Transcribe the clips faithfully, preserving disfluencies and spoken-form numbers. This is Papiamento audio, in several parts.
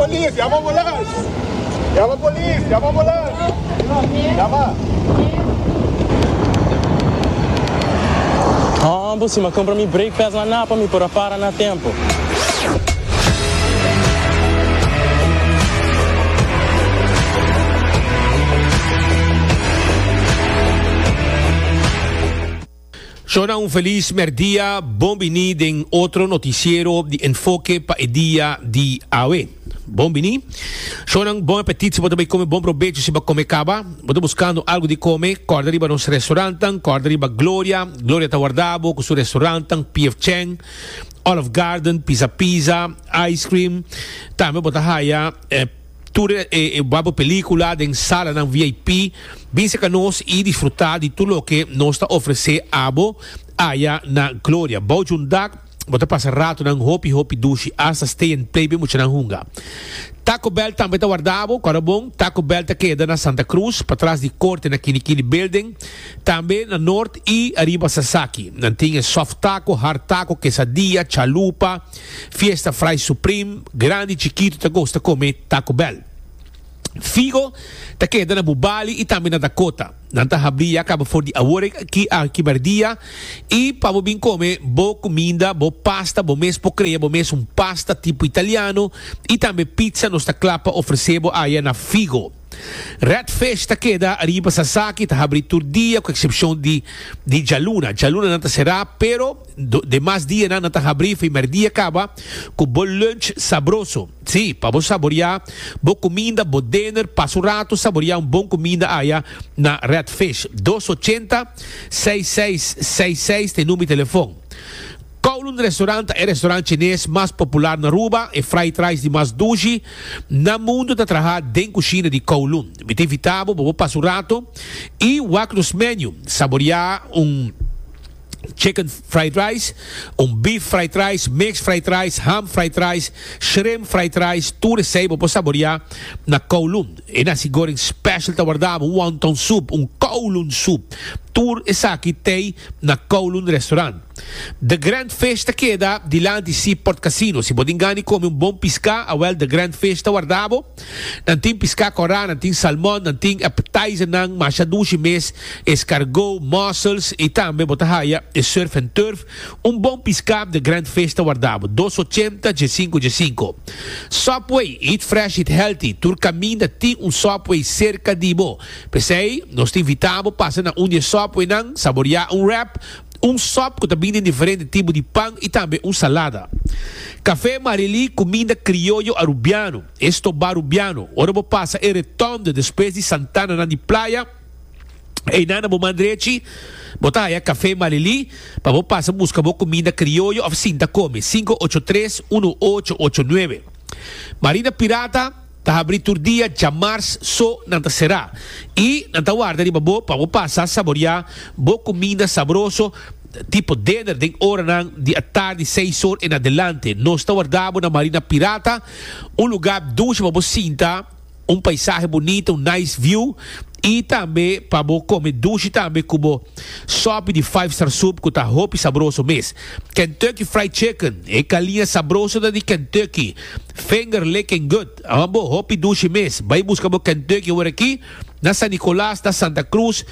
Polis, yama ambulans. Yama polis, yama ambulans. Yama. Hombo, si mi a cumpra mi brake pads na Napa, mi por a para na tempo. Shona, un feliz merdia, bon bini den otro noticiero di Enfoke pa e dia di awe. Bon bini. Shona, bon apetit si bo ta bay come, bon probecho si bo a come caba. Bo ta buscando algo di come, corda riba nos restaurantnan, corda riba Gloria. Gloria ta warda bo cu su restaurantnan, P F Chang, Olive Garden, Pizza Pizza, Ice Cream. Tambe bo ta haya eh, tur e, e babo pelicula den salanan V I P. Bin cerca nos y disfruta di tur loke nos ta ofrece abo aya na Gloria. Bou di un dak, bo ta pasa ratonan hopi hopi dushi, hasta stay and play be muchanan hunga. Taco Bell tambe ta warda bo, corda bon, Taco Bell ta keda na Santa Cruz, patras di corte na Kinikini Building, tambe na Noord y ariba Sasaki. Nan tin soft taco, hard taco, quesadilla, chalupa, fiesta fry supreme, grandi, chikito ta gusta come Taco Bell. Figo ta keda na Bubali y tambe na Dakota. Nan ta habri ya caba for di awor aki aki merdia y pa bo bin come bo cuminda, bo pasta, bo mes por crea bo mes un pasta tipo italiano y tambe pizza, nos ta cla pa ofrece bo aya na Figo. Red Fish ta keda ariba Sasaki, ta habri tur dia, cu excepcion di di djaluna. Djaluna nan ta sera, pero do, demas dianan nan ta habri for merdia caba cu bo lunch sabroso. Si, pa bo saborea bo cuminda, bo dinner, pasa un rato, saborea un bon cuminda aya na Red Fish. dos ochenta seis seis seis seis ta number di telefon. Kowloon Restaurant e restaurant chines mas popular na Aruba e fried rice di mas dushi na mundo ta traha den cushina di Kowloon. Mi ta invita bo pa pasa un rato y wak nos menu, saborea un chicken fried rice, un beef fried rice, mixed fried rice, ham fried rice, shrimp fried rice, tur esey bo por saborea na Kowloon. E nasi goreng special ta warda bo, un wonton soup, un Kowloon soup. Tur esaki tin na Kowloon Restaurant. The Grand Fish ta keda dilanti Seaport Casino. Si bo tin gana di come un bon pisca, awel, The Grand Fish ta warda bo. Nan tin pisca cora, nan tin salmon, nan tin appetizer nan masha dushi mes, escargot, mussels y tambe bo ta haya e surf and turf. Un bon pisca, The Grand Fish ta warda bo. dos ochenta G cinco G cinco. Subway, eat fresh, eat healthy. Tur caminda tin un Subway cerca di bo. P'esey, nos ta invita bo pasa na un di Subway nan, saborea un wrap, un sub cu tambe tin diferente tipo di pan y tambe un salada. Café Marili, cuminda crioyo arubiano, esto barubiano. Ora bo pasa e rotonde despues di Santana na di Playa, ey na bo man drechi, bo ta haya Café Marili, pa bo pasa busca bo cuminda crioyo of sinta come. cinco ocho tres, un ocho ocho nuebe. Marina Pirata ta habri tur dia, djamars so nan ta sera. Y nan ta warda riba bo pa bo pasa saborea bo cuminda sabroso tipo dinner den oranan di atardi, seis or en adelante. Nos ta warda bo na Marina Pirata, un lugar dushi pa bo sinta, un paisahe bunita, un nice view y tambe pa bo come dushi tambe cu bo sopi di five star soup cu ta hopi sabroso mes. Kentucky Fried Chicken, e galiña sabroso da di Kentucky. Finger licking good. Abo hopi dushi mes. Bay busca bo Kentucky awor aki na San Nicolas, na Santa Cruz,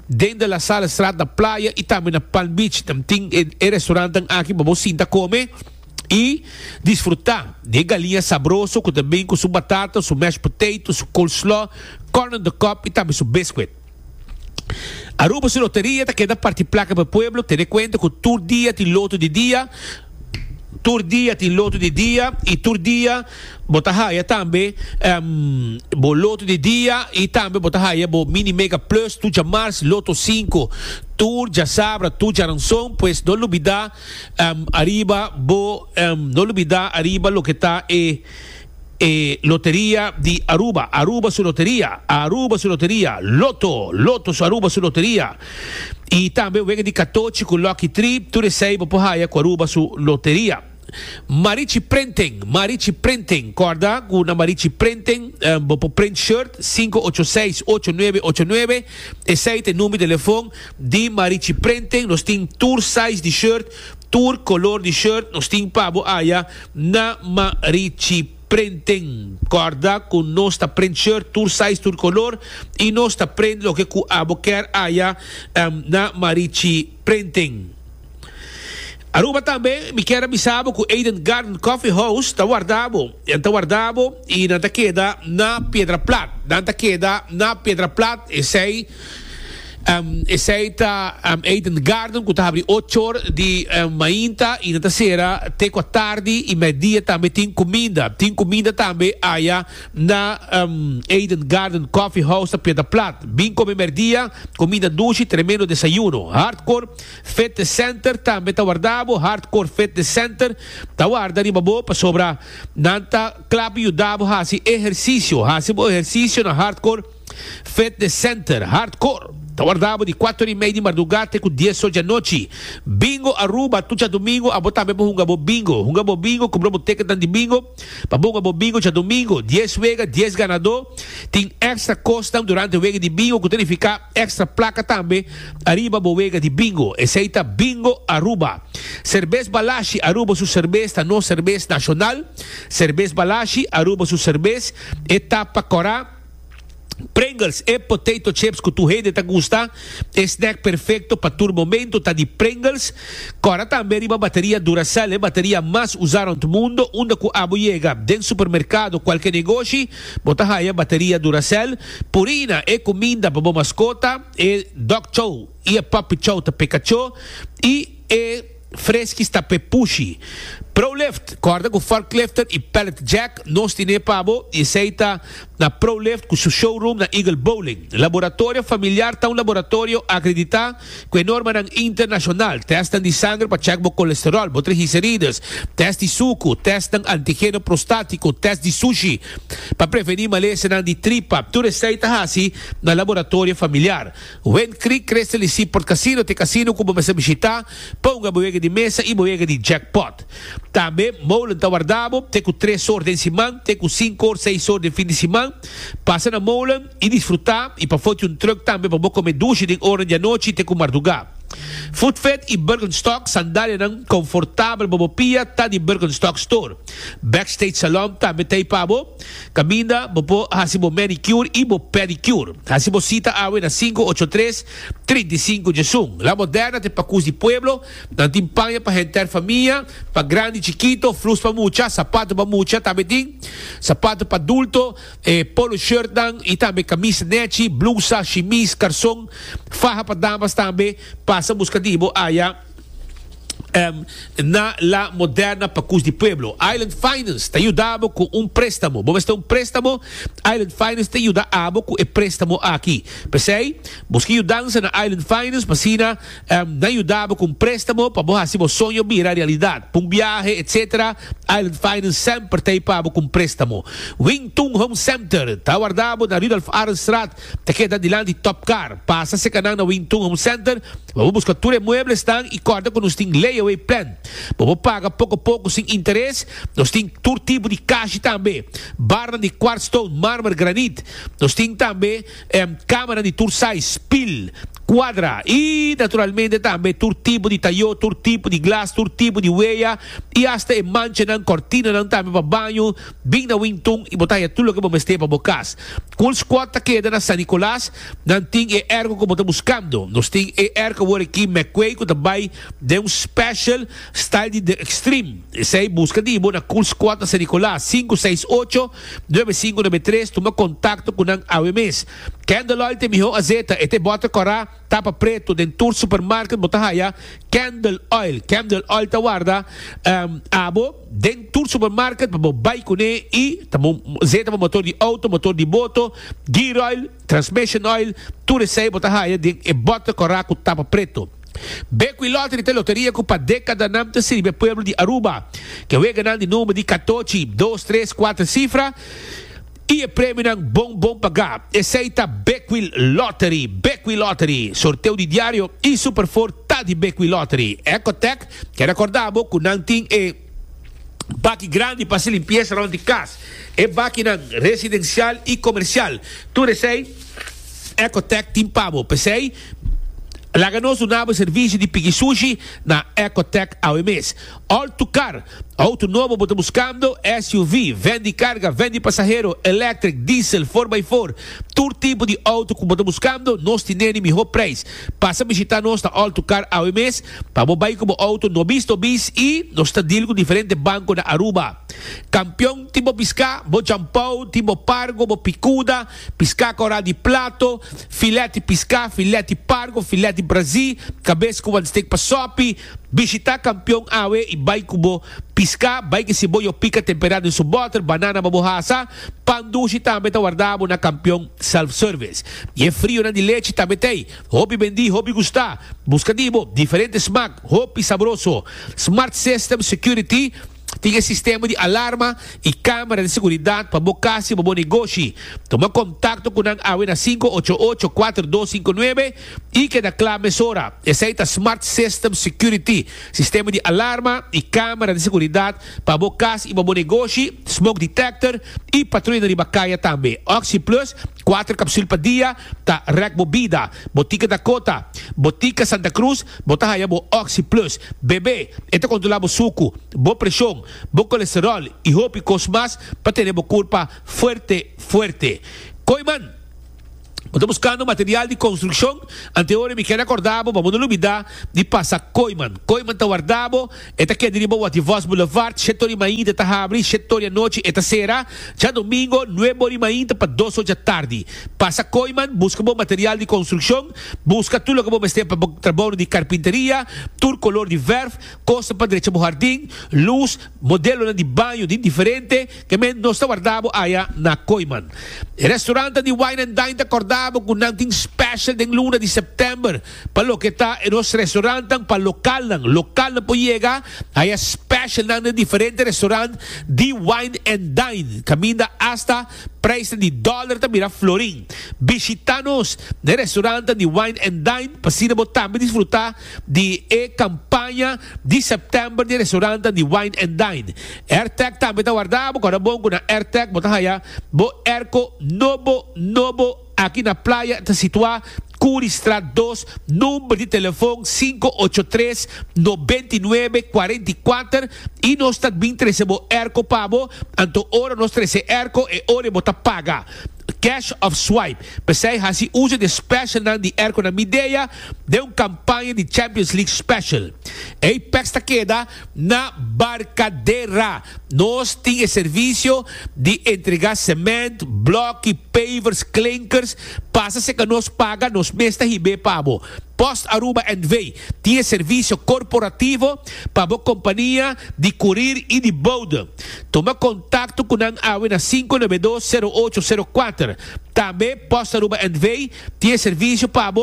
den La Salle Straat na Playa y tambe na Palm Beach. Tambe tin e, e restaurant aki pa bo sinta come y disfruta di galiña sabroso cu tambe cu su batata, su mashed potato, su coleslaw, corn on the cob y tambe su biscuit. Aruba su loteria ta keda parti placa pa pueblo, tene cuenta cu tur dia tin loto di dia, tur dia tin loto di dia y tur dia bo ta haya tambe um, bo loto di dia y tambe bo ta haya bo mini mega plus tur djamars, loto cinco tur djasabra, tur djaranson. Pues no lubida um, ariba bo um, no lubida ariba loke ta e e loteria di Aruba, Aruba su loteria, Aruba su loteria, Lotto, Lotto su Aruba su loteria. Y tambe wega di catochi cu Lucky Trip, tur esey bo por haya cu Aruba su loteria. Marichi Printing, Marichi Printing, corda cu na Marichi Printing, um, bo por print shirt, cinco ocho seis, ocho nuebe ocho nuebe, esey ta e number di telefon di Marichi Printing. Nos tin tur size di shirt, tur color di shirt, nos tin pa bo aya na Marichi. Printing. Corda cu nos ta print shirt, tur size, tur color y nos ta print loke cu abo kier aya um, na Marichi Printing. Aruba tambe, mi kier avisa bo cu Eden Garden Coffee House ta warda bo. Ta warda bo y nan ta keda na Piedra Plat. Nan ta keda na Piedra Plat, esey um, esey ta um, Eden Garden, cu ta habri ocho or di um, mainta y nan ta sera te cu atardi y merdia tambe tin cuminda. Tin cuminda tambe aya na um, Eden Garden Coffee House na Piedra Plat. Bin come merdia, cuminda dushi, tremendo desayuno. Hardcore Fitness Center tambe ta warda bo. Hardcore Fitness Center ta warda riba bo pasobra nan ta cla pa yuda bo haci ehercicio. Haci bo ehercicio na Hardcore Fitness Center. Hardcore ta warda bo di cuater y mei di marduga te cu dies or di anochi. Bingo Aruba, tur diadomingo, abo tambe por hunga bo bingo. Hunga bo bingo, cumpra bo ticket di bingo, pa hunga bo bingo diadomingo. dies wega, dies ganado. Tin extra cos durante e wega di bingo, cu ta significa extra placa tambe, ariba bo wega di bingo. Esey ta Bingo Aruba. Cerbes Balashi, Aruba su cerbes, ta nos cerbes nacional. Cerbes Balashi, Aruba su cerbes, e tapa cora. Pringles e potato chips cu tur hende ta gusta, e snack perfecto pa tur momento ta di Pringles. Corda tambe riba bateria Duracell, e bateria mas usa na mundo, unda cu abo yega den supermercado, cualkier negoshi, bo ta haya bateria Duracell. Purina e cuminda pa bo mascota, e dog chow y e puppy chow ta p'e cacho y e Friskies ta p'e pushi. ProLift, corda cu forklifter y pallet jack, nos tin pa bo y esey ta na ProLift cu su showroom na Eagle Bowling. Laboratorio Familiar ta un laboratorio acredita cu norma internacional. Test di sanger pa check bo colesterol, bo triglicérides, test di suco, test antigeno prostatico, test di sushi pa preveni malesa di tripa. Tur esey ta haci na Laboratorio Familiar. Wind Creek Crystal y Seaport Casino, t'e casino cu bo mester bishita, pa hunga bo wega di mesa y bo wega di jackpot. Tambe, Molen ta warda bo, te cu tres or di siman, te cu cinco or, seis or di fin di siman. Pasa na Molen y disfruta y pa foto un truck tambe pa come dushi den ora di anochi te cu marduga. Footfit y Birkenstock, sandalianan comfortabel pa bo pia, ta di Birkenstock Store. Backstage Salon tambe t'ey pa bo. Caminda, bo por haci bo manicure y bo pedicure. Haci bo cita awe na cinco ocho tres trinta y cinco diesun. La Moderna t'e pacus di pueblo, nan tin paña pa henter famia, pa grandi y chikito, flus pa mucha, sapato pa mucha, tambe tin sapato pa adulto, eh, polo shirt nan, y tambe camisa nechi, blusa, chemise, carson, faha pa damas tambe. Pasa busca di bo aya um, na La Moderna, Pacus di Pueblo. Island Finance ta yuda bo cu un prestamo. Bo mester un prestamo? Island Finance ta yuda abo cu e prestamo aki. P'esey, busca yudansa na Island Finance, p'asina um, nan yuda bo cu un prestamo pa bo haci bo soño bira realidad. Pa un biahe, et cetera. Island Finance semper t'ey pa bo cu un prestamo. Wing Tung Home Center, ta warda bo na Rudolf Arendstraat, ta keda dilanti Top Car. Pasa serca na Wing Tung Home Center, bo busca tur e mueblesnan y corda cu nos tin layaway plan. Bo paga poco poco sin interes. Nos tin tur tipo di cashi tambe. Barra di quartzstone, marmer, granite. Nos tin tambe um, camara di tur size, pil, cuadra y naturalmente tambe tur tipo di tayo, tur tipo di glas, tur tipo di wea y hasta e manchanan, cortinanan tambe pa baño. Bin na Wing Tung y bo ta haya tur loke bo mester pa bo cas. Cool Squad ta keda na San Nicolas, nan tin e airco cu bo ta buscando. Nos tin e airco awor aki McQuay cu tambe tin un special style di The Extreme. Esey busca di bo na Cool Squad na San Nicolas, cinco seis ocho nuebe cinco nuebe tres, tuma contacto cu nan awe mes. Candle Oil t'e miho azeta, e t'e boter cora, tapa preto, den tur supermarket bo ta haya Candle Oil. Candle Oil ta warda um, abo den tur supermarket pa bo bay cune y ta azeta pa motor di auto, motor di boto, gear oil, transmission oil, tur esey bo ta haya den e boter cora cu tapa preto. Beco Lottery t'e loteria cu pa decadanan ta sirbi pueblo di Aruba. Cu wega di number di catochi, dos, tres, cuater cifra. Y e premionan bon bon paga. Esey ta Bequil Lottery. Bequil Lottery. Sorteo di diario y Super cuater ta di Bequil Lottery. Ecotech, kier recorda bo cu nan tin e baki grandi pa limpiesa rond di cas. E bakinan residencial y comercial. Tur esey, Ecotech tin pa bo. P'esey, Laga nos duna bo servicio di piki sushi na Ecotech awe mes. All to Car, auto nobo bo ta buscando, S U V, van di carga, van di pasahero, electric, diesel, four by four, tur tipo di auto cu bo ta buscando, nos tin e miho prijs. Pasa bishita nos na All to Car awe mes, pa bo bay cu bo auto nobis nobis y nos ta deal cu diferente banco na Aruba. Campeon tin bo pisca, bo champau, tin bo pargo, bo picuda, pisca cora di plato, filete pisca, filete pargo, filete Brasil, cabeça com one steak pa sopi. Visita Campeon awe e bay cubo pisca, bay que si boyo pica temperado em su butter, banana babohasa, pandushi tambe ta guardabo na Campeon self-service. E é frio na de leite tambe tem. Hopi bendi, hopi gusta. Busca dibo, diferente smack, hopi sabroso. Smart System Security tem sistema de alarma e câmera de seguridade para bo casa e para bo negócio. Toma contato com a awe na cinco ocho ocho, cuatro dos cinco nueve e que da clame sora. Essa é a Smart System Security, sistema de alarma e câmera de seguridade para bo casa e para bo negócio, smoke detector e patrulha de bacaia também. Oxy Plus, quatro cápsulas por dia, tá rec bebida, Botica Dakota, Botica Santa Cruz, bota aí bo Oxy Plus. Bebê, eta controlar bo suco, bo pressão, bo colesterol e hopi cosmas para ter bo culpa fuerte, fuerte. Kooyman, estou buscando material de construção. Anteora me quero acordar, vamos não olvidar de passar Kooyman. Kooyman tá guardado, está aqui de riba Voz Boulevard, sete horas e meia tá abre, sete horas da noite está será. Já domingo, nove horas e meia para duas horas da tarde. Passa Kooyman, busca bom material de construção, busca tudo que você tem para trabalho de carpinteria, tudo color de verf, costa para direita do jardim, luz, modelo de banho de diferente, que men não está guardado aí na Kooyman. Restaurante de Wine and Dine tá acordado com nothing special den luna de september pa lo que está en los restaurantes pa local lang local na po llega hay special na diferente restaurant de Wine and Dine caminda hasta precio de dólar ta mira florín. Visitanos de restaurante de Wine and Dine pasina bo también disfrutar de e campaña de september de restaurante de Wine and Dine. AirTag también ta guardado con bon con AirTag bota haya bo airco nobo nobo aqui na praia está situada Curistraat dos, número de telefone cinco ocho tres, noventa y nueve, cuarenta y cuatro e nós está bem recebo airco pabo, anto ora nós trece airco e ora bota paga. Cash of swipe. Pensei hasi uso de special nan di airco na Midea de uma campanha de Champions League special. Apex ta queda na Barcadera. Nós tem serviço de entregar cimento, bloco, pavers, clinkers. Passa se que nós paga, nós mesta ribe pabo. Post Aruba N V tem serviço corporativo para a companhia de courier e de bode. Toma contato com a A W na cinco nove dois, zero oito zero quatro. Também Post Aruba N V tem serviço para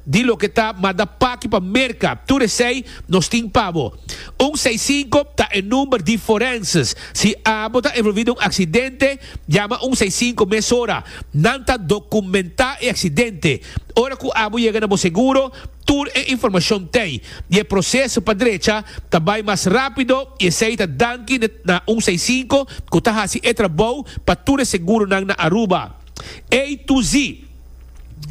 de lo que está manda pack para merca. Tudo sei nós tem pabo. um seis cinco tá o número de forenses. Se a está envolvido um acidente, chama um seis cinco mesora. Não tá documentar o acidente. Ora que o abo chega no seguro, tour e informação tem. E o processo para direita também mais rápido e aceita danke na um seis cinco que está assim é trabalho para tour seguro na Aruba. A to Z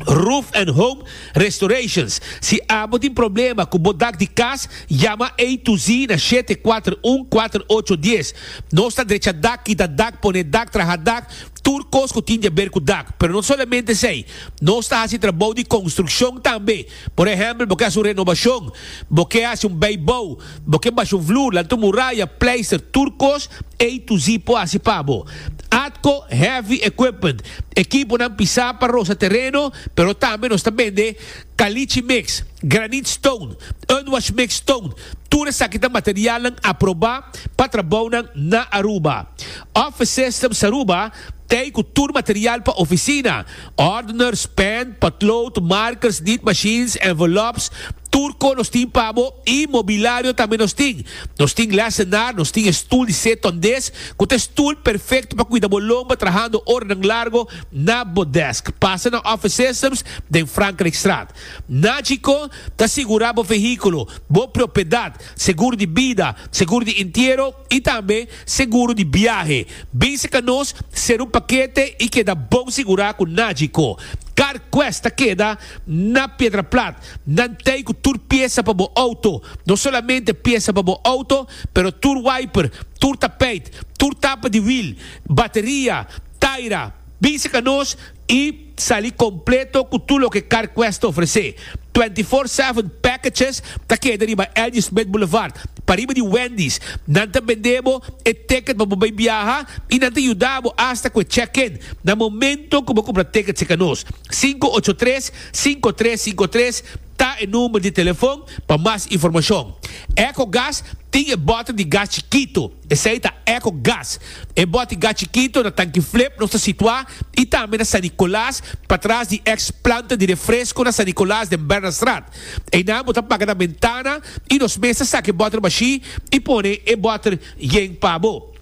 Roof and Home Restorations. Se abo tem problema com o bodak de casa, chama A to Z na sete quatro um, quatro oito um zero. Nós está direita dak, kita dak, pone dak, traja dak, turcos que tem a ver com dak. Pero não somente sei, nós está fazendo trabalho de construção também. Por exemplo, porque hace uma renovação, porque hace um beisebol, porque baixa um flor, lança muralha, pleister, turcos, A to Z po hace pabo. Atco Heavy Equipment, equipo na pisar para rosa terreno, pero também nós também de caliche mix, granite stone, unwash mix stone, tudo isso aqui tá material aprovar para trabalhar na Aruba. Office Systems Aruba tem com tudo material para oficina, ordners, pen, potload, markers, neat machines, envelopes, turco nos tem pabo e mobiliário também nos tem. Nos tem lesenar, nos tem stool de sete dez, com stool perfeito para cuidar bolomba, trabajando orden largo na bodesk. Passa na Office Systems de Frankrijkstraat. Nagico tá segurado o veículo, boa propriedade, seguro de vida, seguro de inteiro e também seguro de viaje. Bem se que nós ser um paquete e que dá bom segurar com Nagico. CarQuest ta keda na Piedra Plat. Nan tin ku tur piesa pa bo auto. No solamente piesa pa bo auto, pero tur wiper, tur tapijt, tur tapa di wiel, bateria, taira. Bin serka nos i sali kompleto ku tur loke CarQuest ta ofresé. twenty-four seven Packages ta keda riba L G. Smith Boulevard, pariba di Wendy's. Nan ta bende bo e ticket pa bo biaha i nan ta yuda bo hasta ku check-in na momento ku bo kumpra ticket serka nos. sinku ocho tres, sinku tres sinku tres ta e number di telefòn pa mas informashon. EcoGas tin e bòter di gas chikitu. Esei ta EcoGas. E bòter di gas chikitu na Tanki Flip, nos ta situá, i tambe na San Nicolas, patras di ex-planta di refresko na San Nicolas, di Bernardstraat. Einan bo ta paga na bentana i nos mes ta saka e bòter bashí i pone e bòter yen pa bo.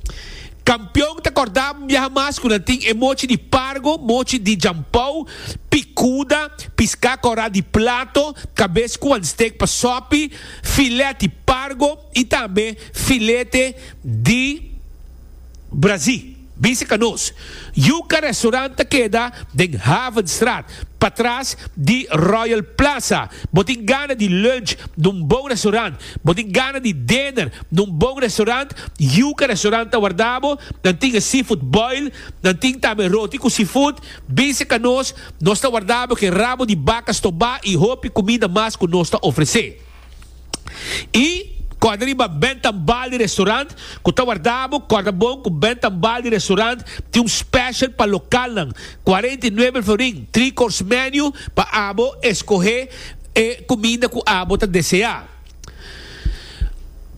Kampeon ta kòrda biaha mas ku nan tin e mochi di pargo, mochi di jampou, pikuda, piská kòrá di plato, kabes ku steak pa sopi, filete di pargo i tambe filete di Brasil. Bin serka nos. Yuca Restaurant keda den Havenstraat, patras di Royal Plaza. Bo tin gana di lunch na un bon restaurant. Bo tin gana di dinner na un bon restaurant. Yuca Restaurant ta warda bo. Nan tin seafood boil, nan tin tambe roti ku seafood. Bin serka nos, nos ta warda bo ku rabo di baka stobá i hopi kuminda mas ku nos ta ofresé. I kòrda riba Bentambali Restaurant, ku ta warda bo, kòrda bon ku Bentambali Restaurant tin un special pa lokalnan, kuarenta i nuebe florin, three course menu pa abo skohe e kuminda ku abo ta deseá.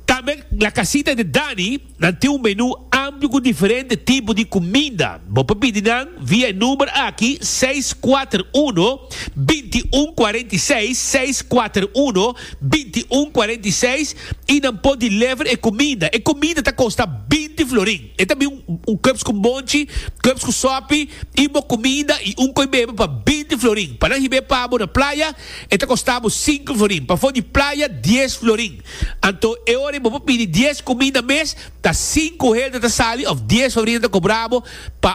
Tambe La Casita de Dani, nan tin un menú amplio ku diferente tipo di kuminda. Bo por pidi nan via e number aki seis kuater un bintiun kuarenta i seis, seis kuater un bintiun kuarenta i seis i nan por deliver e kuminda. E kuminda ta kosta binti florin. E tambe un, un cups ku bonchi, cups ku sopi i bo kuminda i un koi bebe pa binti florin. Pa nan hib'é pa bo na Playa, e ta kosta sinku florin. Pafó di Playa, dies florin. Anto, e ora bo pidi dies kuminda mes, ta sinku hende ta sali òf dies florin ta kobra bo pa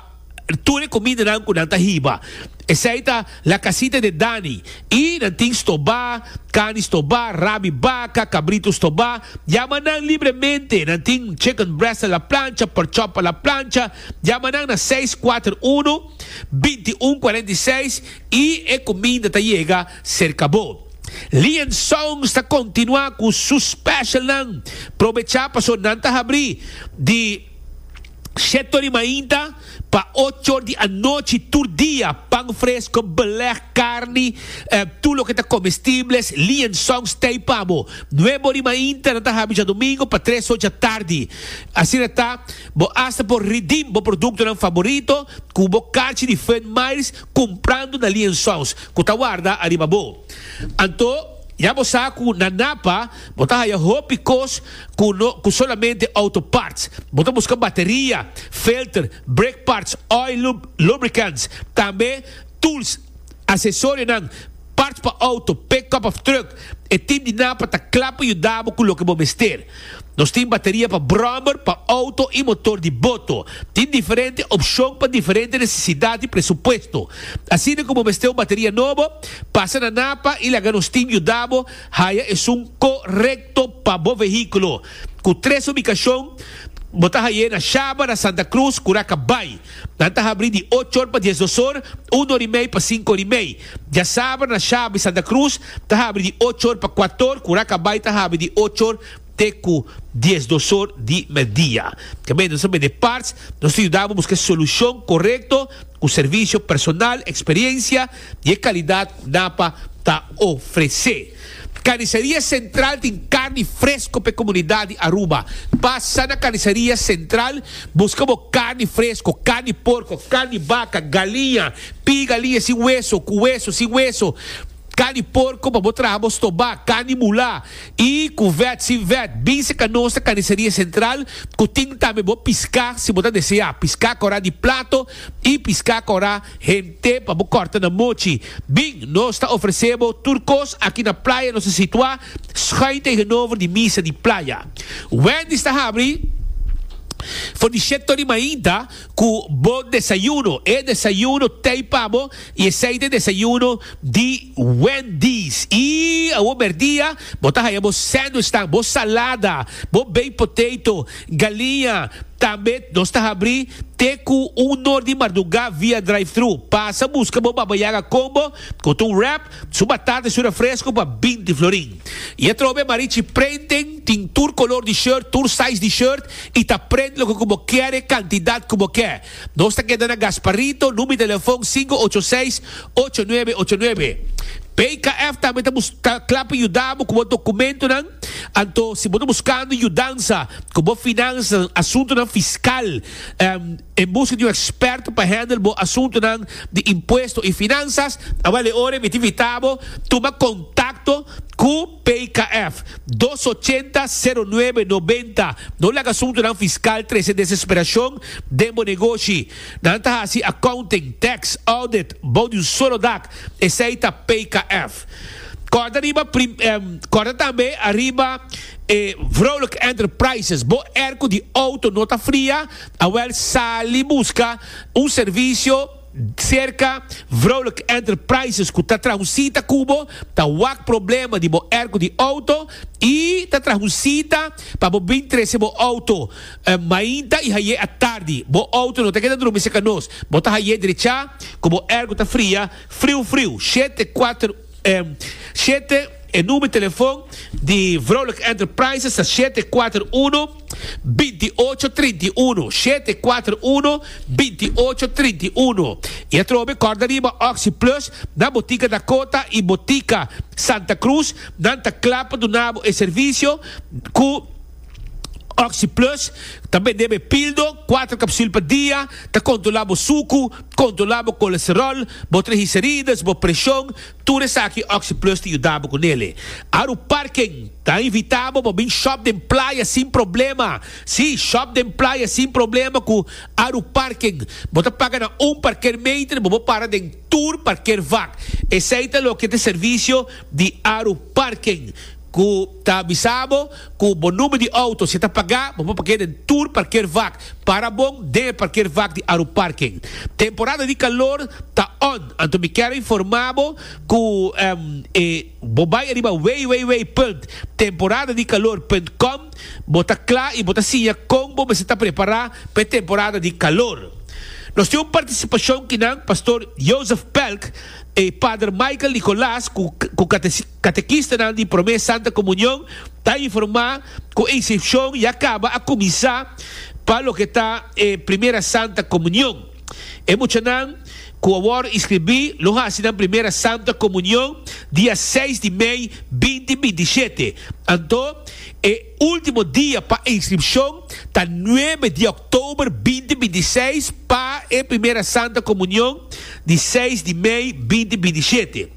tur e kumindanan ku nan ta hiba. Esei ta La Casita de Dani. I nan tin stobá, karni stobá, rab'i baka, kabritu stobá. Yama nan libremente. Nan tin chicken breast a la plancha, pork chop a la plancha. Yama nan na seis kuater un bintiun kuarenta i seis i e kuminda ta yega serka bo. Leon Songs ta kontinuá ku su special nan. Probechá paso nan ta habri di shete di mainta pa ocho di anochi tur dia. Pan fresku, beleg, karni, eh, tur loke ta komestibel. Leon Songs t'ei pa bo. Nuebe di mainta nan ta habri djadumingu pa tres or di atardi. Asina ta, bo hasta por redeem bo produktonan favorito ku bo karchi di Fun Miles kumprando na Leon Songs. Ku ta warda ariba bo. Anto, ya bo sa ku na Napa, bo ta haya hopi kos ku no ku solamente auto parts. Bo ta buska bateria, filter, brake parts, oil lub, lubricants, tambe tools, aksesorionan, parts pa auto, pick-up òf truck. E team di Napa ta kla pa yuda bo ku loke bo mester. Nos tin bateria pa brommer, pa auto i motor di boto. Tin diferente opshon pa diferente nesesidat i presupuesto. Asina komo mester un bateria nobo, pasa na Napa i laga nos team yuda bo haya esun korekto pa bo vehíkulo. Ku tres ubikashon, bo ta hay'é na Shaba, na Santa Cruz, Curacabai. Nan ta habri di ocho or pa diesdos or, un or i mei pa sinku or i mei. Djasabra na Shaba i Santa Cruz, ta habri di ocho or pa kuater or, Curacabai ta habri di ocho or te ku diesdos or di mèrdia. Tambe nos bende parts, nos ta yuda bo buska solushon korekto ku servisio personal, eksperensia i kalidat Napa ta ofresé. Carniceria Central tin karni fresku pa e komunidat di Aruba. Pasa na Carniceria Central, buska bo karni fresku, karni porko, karni baka, galiña, pi'i galiña sin wesu, ku wesu, sin wesu. Karni porko pa bo traha stobá, karni mulá i ku vèt, sin vèt. Bin serka nos Carniceria Central, ku tin tambe bo piská, si bo ta deseá, piská kòrá di plato i piská kòrá henter pa bo kòrta na mochi. Bin, nos ta ofresé bo tur kos aki na Playa, nos ta situá schuin tegenover di misa di Playa. Wendy's ta habri For di shete or di mainta ku bo desayuno. E desayuno tei pa bo i esei ta e desayuno di Wendy's. I awor merdia bo ta haya bo sandwichnan, bo salada, bo baked potato, galiña. Tambe nos ta habri te ku un or di mardugá via drive-thru. Pasa buska bo Babayaga Combo ku ta un wrap, su batata i su refresco pa binti florin. I atrobe Marichi Printing tin tur kolor di shirt, tur size di shirt i ta print loke ku bo kier e kantidat ku bo ke. Nos ta keda na Gasparito, number di telefon sinku ocho seis, ocho nuebe ocho nuebe. P K F tambe ta ta kla pa yuda bo ku bo dokumentonan. Anto si bo ta buskando yudansa ku bo finansa, asuntonan fiskal, en buska di un eksperto pa handle bo asuntonan di impuesto i finansas, awel e ora mi ta invita bo tuma kontakto ku P K F. Dos ochenta sero nuebe nobenta. No laga asuntonan fiskal trese desesperashon den bo negoshi. Nan ta hasi accounting, tax, audit bou di un solo dak. Esei ta P K F. Kòrda riba prim, um, kòrda tambe ariba eh, Vrolijk Enterprises. Bo airco di outo no ta fria? Awel sali buska un servisio serka Vrolijk Enterprises ku ta traha un sita ku bo, ta wak problema di bo airco di outo i ta traha un sita pa bo bin trese bo outo eh, mainta i hay'é atardi. Bo outo no ta keda drumi serka nos. Bo ta hay'é drechá ku bo airco ta fria, friu friu. Shete kuater shete, e number di telefon di Vrolijk Enterprises ta shete kuater uno, binti ocho trinta i uno, shete kuater uno, binti ocho trinta i uno. I atrobe kòrda riba Oxi Plus na Botika Dakota i Botika Santa Cruz. Nan ta kla pa duna bo e servisio ku Oxi Plus. Ta bende e pildo, kuater kapsul pa dia, ta kontrolá bo suku, kontrolá bo kolesterol, bo triglicérides, bo preshon, tur esaki Oxi Plus ta yuda bo kuné. Aru Parking ta invitá bo pa bin shop den Playa sin problema. Si, shop den Playa sin problema ku Aru Parking. Bo ta paga na un parkeermeter, bo para den tur parkeervak. Esei ta loke ta servisio di Aru Parking ku ta avisa bo ku bo number di outo si ta pagá, bo por parkeer den tur parkeervak. Para bon den parkeervak di Aru Parking. Temporada di kalor ta on. Anto mi ke informá bo ku um, eh, bo bai ariba w w w punt temporadadikalor punt com, bo ta kla i bo ta siña kon bo ta prepará pa temporada di kalor. Nos tin un partisipashon ku nan Pastor Joseph Pelk i Padre Michael Nicolás ku ku katekista di Promé Santa Komunion ta informá ku e inskripshon ya kaba a kuminsá pa loke ta eh, Primera Santa Komunion. E muchanan ku awor inskribí lo hasi nan Primera Santa Komunion dia seis di mei dos mil binti shete. Anto, e último dia pa inskripshon ta nuebe di òktober dos mil binti seis pa e Primera Santa Komunion di seis di mei dos mil binti shete.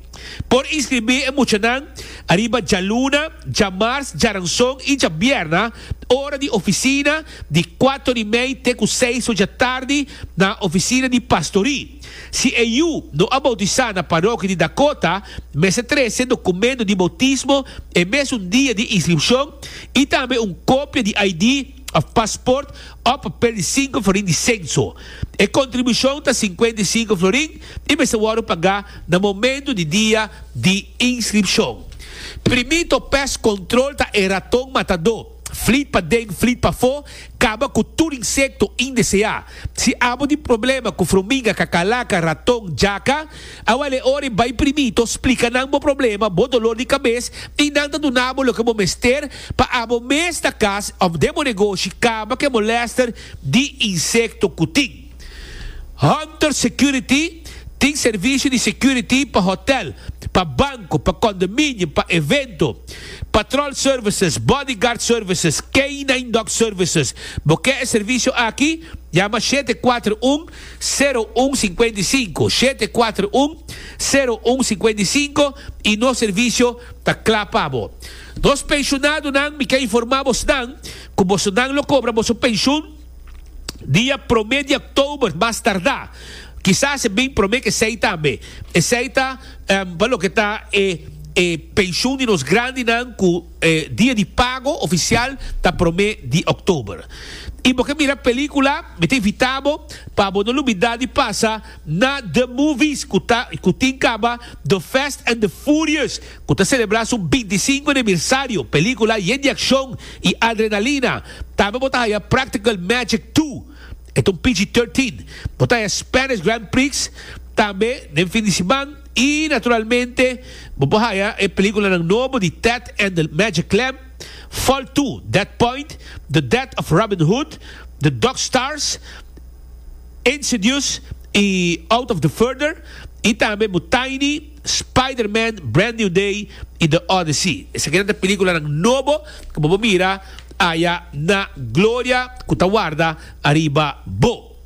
Por inskribí e muchanan ariba djaluna, djamars, djaranson i djabièrnè, ora di ofisina di kuater i mei te ku seis or di atardi na ofisina di pastorí. Si e yu no a boutisá na parokia di Dakota, mester trese dokumento di boutismo e mesun dia di inskripshon i tambe un kopia di I D òf passport òf papel di sinku florin di senso. E kontribushon ta sinkuenta i sinku florin i mester wòrdu pagá na momento di dia di inskripshon. Primito Pest Control ta e raton matadó. Flit paden, flit pafó, kaba ku tur insekto indeseá. Si abo tin problema ku fruminga, kakalaka, raton, djaka, awel e ora bai Primito, splika nan bo problema, bo doló di kabes, i nan ta duna bo loke bo mester pa abo mes na kas òf den bo negoshi kaba ku molèster di insekto ku tin. Hunter Security tin servisio di security pa hotel, pa banko, pa kondominio, pa evento, patrol services, bodyguard services, K nine Dog services. Bo ke e servisio aki? Yama shete kuater un, sero un sinku sinku, shete kuater un, sero un sinku sinku i nos servisio ta kla pa bo. Nos penshonadonan, mi ke informá nan, ku bosonan lo kobra boso penshun dia promé di òktober, mas tardá. Kisas e bin promé ku esei tambe. Esei ta um, pa loke ta e E pensioen di nos grandinan ku eh, dia di pago ofisial ta promé di òktober. I bo ke mira pelíkula, mi ta invitá bo pa bo no lubidá di pasa na The Movies, ku ta ku tin kaba The Fast and the Furious, ku ta selebrá su bintisinku aniversario, pelíkula yen di akshon i adrenalina. Tambe bo ta haya Practical Magic dos, e ta un P G trinta. Bo ta haya Spanish Grand Prix tambe den fin di siman i naturalmente bo por haya e pelíkula nobo di Ted and the Magic Clamp, Fall dos, Dead Point, The Death of Robin Hood, The Dog Stars, Insidious i Out of the Further i tambe Tiny, Spider-Man, Brand New Day i The Odyssey. Esaki ta pelíkula nobo ku bo por mira aya na Gloria ku ta warda ariba bo.